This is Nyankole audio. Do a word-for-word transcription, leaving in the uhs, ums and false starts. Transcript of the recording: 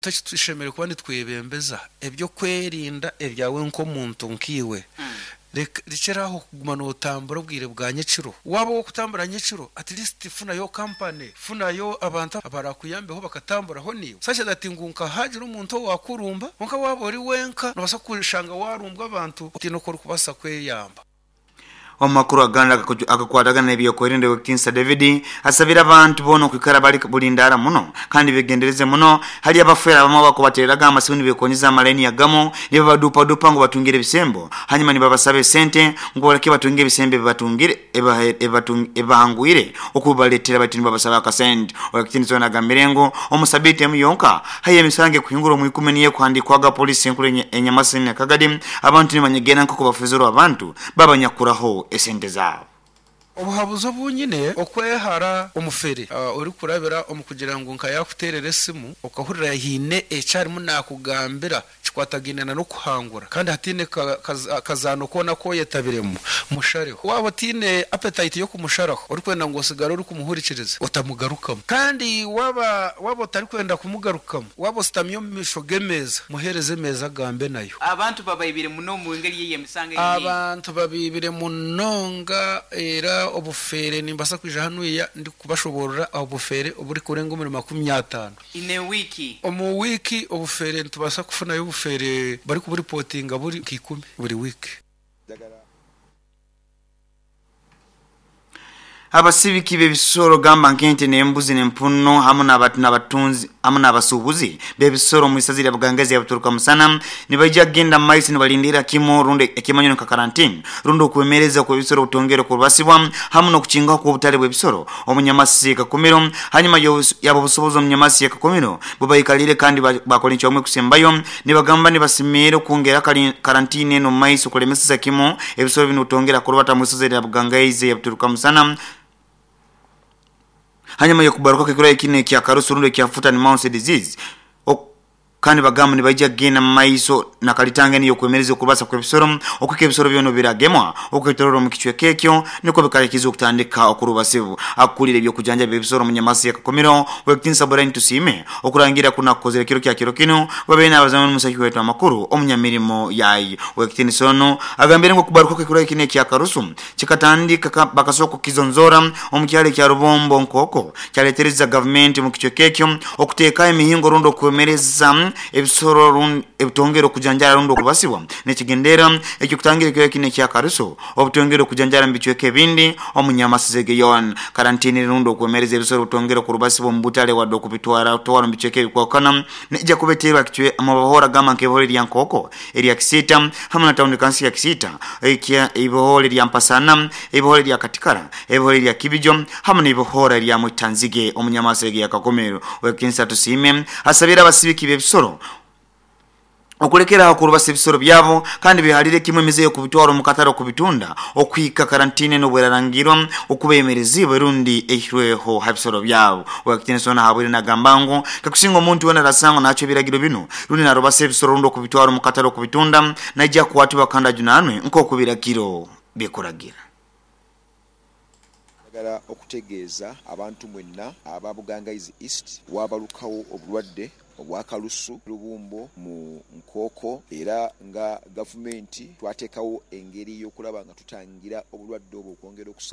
Tushemereire kuba nitwebembeza ebyokwerinda ebyawe nk'omuntu nkiiwe. Rekyera aho kuguma nootambura obwire bwa nyekiro. Waaba ow'okutambura nyekiro, at least funayo company, funayo abantu abarakuyambeho bakatamburaho naiwe, such that ngu nka haagira omuntu owaakurumba, kwonka waaba ori wenka noobaasa kushanga waarumbwa abantu otaine oku orikubaasa kweyamba. Omu makuru agandi agakwatagana n'ebyokwerinda, Ow'ekitiinisa David asabire abantu boona okwikara bali bulindaara muno kandi begendereze muno hali abafeera abamu abakubatereraga amasimu nibekonyeza amalaini agamu nibabadupadupa ngu batungire ebisembo, hanyuma nibabasaba esente ngu baleke batunge ebisembo ebibatungire ebibahangwire okubibaletera, baitu nibabasaba akasente. Ow'ekitiinisa ono agambire ngu omu sabiiti emu yonka haihi emisango ekuhingura omu ikumi niyo ekuhandikwaga polisi enkuru e Nyamasini na Kagadi, abantu nibanyegera nk'oku bafuzirwe abantu babanyakuraho esente zaabo. Obuhabuzi obu nyine, okwehara omufere orikurabira omu kugira ngu nka yaakuteerera esimu okahurira haine eki arimu naakugambira kikwatagaine n'okuhangura kandi hataine kazaano koona aku oyetabiremu, mushareho. Waaba otaine appetite y'okumusharaho orikwenda ngu osigare orikumuhurikiriza, otamugarukamu. Kandi waaba waaba otarikwenda kumugarukamu, waaba oshutami omu maisho g'emeeza, muheereze emeeza agambe nayo. Abantu babaibire muno omu ngeri y'emisango eri nyingi. Abantu babaibire munonga era obufeere nimbaasa kwija hanuya ndikubashoboorora obufeere oburikurenga omuri makumi ataano. In a week. Omu wiiki obufeere nitubaasa kufunayo obufeere barikuburipotinga buri nka ikumi buri wiiki. Abasibiki b'ebisoro gamba nk'ente n'embuzi n'empunu hamu n'abatunzi hamu n'abasuubuzi b'ebisoro omu isaza lya Bugangaizi ya Buturuka Musana nibaija kugenda mu maiso nibalindira kimu rundi ekimanyiro nka karantini rundi okwemereza kw'ebisoro obutongere okurubasibwa hamu n'okukingaho kw'obutale bw'ebisoro omu Nyamasi Kakumiro. Hanyuma yabo obusobozi omu Nyamasi ya Kakumiro bubaikalire kandi bakora encwamu ekusembayo nibagamba nibasimiire okwongera karantini eno omu maiso kulemeseza kimu ebisoro binu obutongera kurubata mu isaza lya Bugangaizi ya Buturuka Musana hanyuma y'okubaruka ekirwaire kinu ekya karusu rundi ekya foot and mouth disease. Kandi bagamba nibaija kugenda mu maiso na kalitanga enu ey'okwemereza okubasa kw'ebisoro okuhika ebisoro byona biragemwa okwetoroora omu kicweka ekyo nikwo bikarakiza okutandika okurubasibu. Akukulira eby'okujanjaba ebisoro omu Nyamasi ya Kakumiro, Ow'ekitiinisa Brian Tusiime, okurangira kunu akukozere ekiro kya kiro kinu babaire n'abazamu n'omusaki waitu amakuru omunyamirimo yayo. Ow'ekitiinisa onu agambire ngu okubaruka kw'ekirwaire kinu ekya karusu kikatandika bakasooka kukizonzoora omu kyaro ekya Rubombo nk'okwo kyaletereza gavumenti omu kicweka ekyo okuteekaho emihingo rundi okwemereza ebisoro ebitongere okujanjara rundi okubasibwa n'ekigendererwa eky'okutangira ekirwaire kinu ekya karusu obutongere okujanjara mu bicweka ebindi omu Nyamasezi yoona. Karantini rundi okwemereza ebisoro obutongere okurubasibwa omu butale wadde okubitwara twara omu bicweka ebikwahukana neija kuba eteirwe aha mu mabohora gamba nk'eibohora erya Nkooko, erya Kisiita hamu na tawuni kanso ya Kisiita, eibohora erya Mpasana, eibohora erya Katikara, eibohora erya Kibijo hamu n'eibohora erya Mwitanzige omu Nyamasege ya Kakumiro. Ow'ekitiinisa Tusiime asabire abasibiki b'ebisoro okulekera aho okurubasa ebisoro byabo kandi behalire kimwe emize y'okubitwara omu katale okubitunda okuhika karantini enu obwerarangirwa okuba eyemereziibwe rundi eihirweho ha bisoro byabo. Ow'ekitiinisa ono ahabwire nagamba ngu kakusinga omuntu weena arasangwa naacwa ebiragiro binu rundi narubasa ebisoro rundi okubitwara omu katale okubitunda naija kukwatibwa kandi ajunaanwe nk'oku ebiragiro bikuragira. Njagala okutegeeza abantu mwenna aba Bugangaizi East, wabalukawo obulwadde obwa kalusu lubumbo mu Nkooko era nga gavumenti twateekawo engeri y'okulaba nga tutangira obulwadde obwo okwongera okusa.